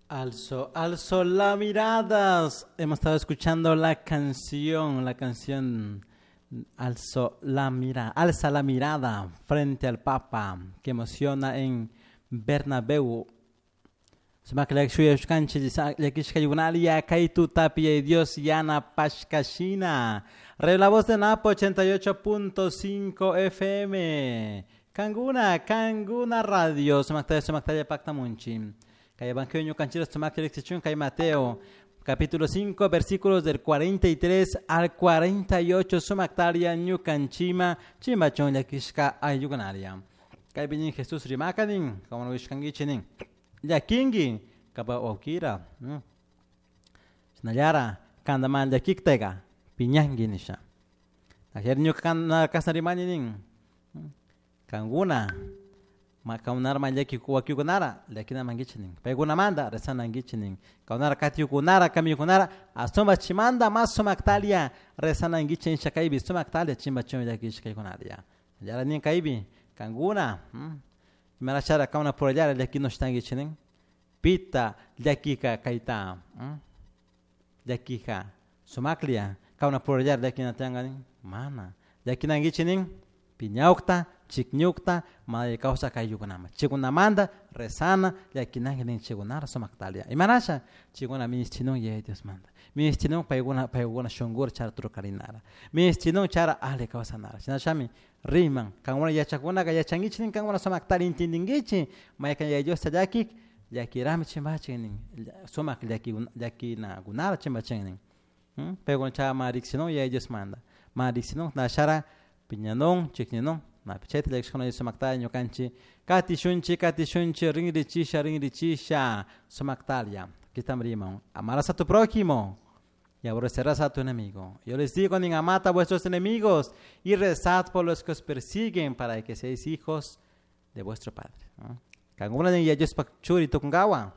Alzo, alzo la mirada. Hemos estado escuchando la canción Alzo la mira, alza la mirada frente al Papa, que emociona en Bernabéu. Kay Dios yanapashkashina. La voz de Napo 88.5 FM. Kanguna, Kanguna Radio. Sumaktaya, Sumaktaya Paktamunchi. Kay Evangelio ñukanchik sumakta riksichun kay Mateo capítulo 5 versículos del 43 al 48 sumaktaria ñukanchima chimbachun llakishka ayllukunaria. Kaypi nin Jesús rimakanin como no wishkankichik llakinki kapa wawkira shinallara kanta mana llakiktaka piñanki nisha. Ayer ñuka kashna rimani nin kankuna kankunara mana llaki wakikunara llakina mankichik nin paykunamanta rezanankichik nin kankunara katiyukunara kamiyukunara ashtawan chimanta mas sumaktalia rezanankichik nisha kaypi sumaktalia chimbachun llakishkaykunaria. Yara nin kaypi kankuna imarashara kankunapurallara llakinushtankichik nin pita llakika kayta llakija sumaklla kankunapurallara llakina tiyanka nin mana llakinankichik nin piñawkta chikñukta mana kawsak ayllukunaman chaykunamanta rezana llakinanki nin chaykunara sumaktalia imarasha chaykuna ministinun Yaya Diosmanta ministinun paykuna paykuna shunkura chara trukarinara ministinun chara ali kawsanara shinashami riman kankuna yachakunaka yachankichik nin kankuna sumaktari entendinkichik maykan Yaya Diosta llakik llakirami chimbachin nin sumak llakinakunara chimbachin nin paykuna chay mana riksinun Yaya Diosmanta mana riksinun nashara piñanun chikninun chayta llakishkuna sumakta ñukanchik katishunchik katishunchik rinrichisha rinrichisha sumaktalia. Aquí estamos riman amarás a tu prójimo y aborrecerás a tu enemigo. Yo les digo, nin amad a vuestros enemigos y rezad por los que os persiguen para que seáis hijos de vuestro Padre. Kankuna nin Yaya Diospak churi tukunkawa.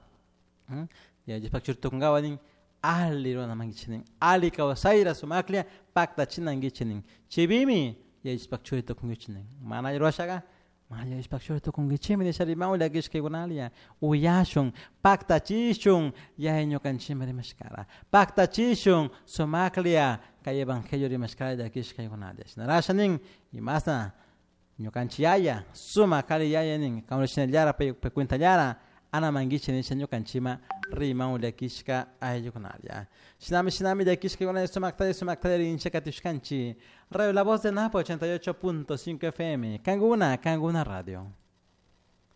Yaya Diospak churi tukunkawa nin ali ruramankichik nin ali kawsayra sumaklla paktachinankichik nin chaypimi Yaya Diospak churi tukunkichik nin mana alli rurashaka mana Yaya Diospak churi tukunkichikmi nisha riman llakishkaykunalia uyashun paktachishun Yaya ñukanchikman rimashkara paktachishun sumaklla kay evangelio rimashkara llakishkaykunalia shinarasha nin imasna ñukanchik yaya sumak kari yaya nin kankuna shinallara pay cuentallara anamankichik nisha ñukanchikman riman llakishka ayllukunalla shinami shinami llakishkakuna sumaktalla sumaktalla rinchik katishkanchik. Radio La Voz de Napo 88.5 FM Kanguna, Kanguna Radio.